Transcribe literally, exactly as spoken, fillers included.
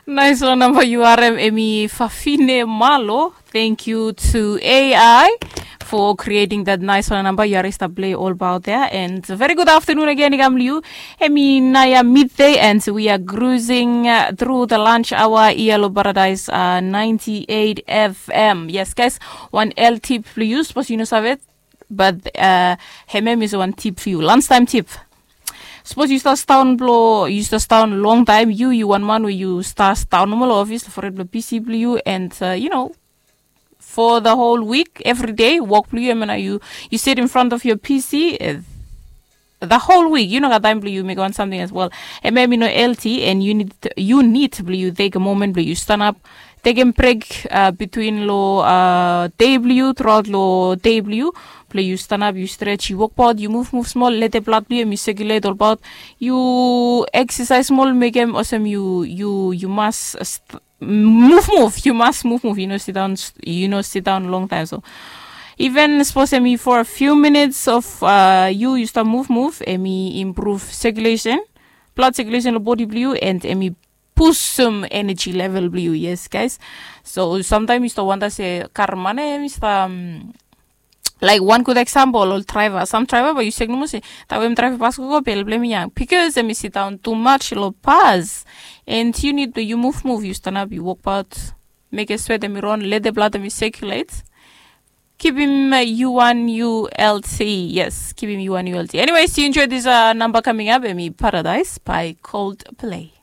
Naisfala namba yu harem, emi Fafine Malo. Thank you to A I for creating that naisfala namba. Yu hari stap play all about there. And very good afternoon again i kam long yu. Emi naia midday and we are cruising uh, through the lunch hour ia long Paradise uh, ninety-eight F M. Yes, guys, wan L tip long yu, sapos yu no save. But uh, hemem is wan tip for you. Lunchtime tip. Sapos yu stap daon blo yu stap daon long taem, yu yu wan man we yu stap daon nomo long ofis long fored blo P C blo yu and uh, you know, for the whole week, every day, wok blo yu, hemia nao yu yu sit in front of your P C uh, the whole week, yu no gat taem blo yu mekem wan samting as well. Hemia hemi no L T and yu nid yu nid blo yu tekem moment blo yu stanap, tekem brek uh, between lo uh, dei blo yu, truaot lo dei blo yu, blo yu stanap, yu stret, yu wokbaot, yu muvmuv smol, lete blad blo yu hemi sekiulet olbaot, yu eksasaes smol, mekem olsem yu yu yu mas muvmuv, yu mas muvmuv, yu no sidaon yu no sidaon longtaem. So even sapos hemi for a few minutes of uh, yu yu stap muvmuv, hemi improve circulation, blood circulation lo bodi blo yu and hemi pusum energy level blo yu. Yes, guys. So samtaem yu stap wanda se karem mane, hemi stap um, like one good example, ol draiva, sam draiva bae yu sek nomo se taem we hemi draiv bas gogo be help blo hemi yang, bikos hemi sidaon tumaj lo bas. And yu nid blo yu muvmuv, yu stanap, yu wokbaot, mekem swet hemi ron, lete blad hemi sekiulet. Kipim uh, U N U L T. Yes, kipim U N U L T. Anyways, you enjoy this uh, number coming up, hemi Paradise by Coldplay.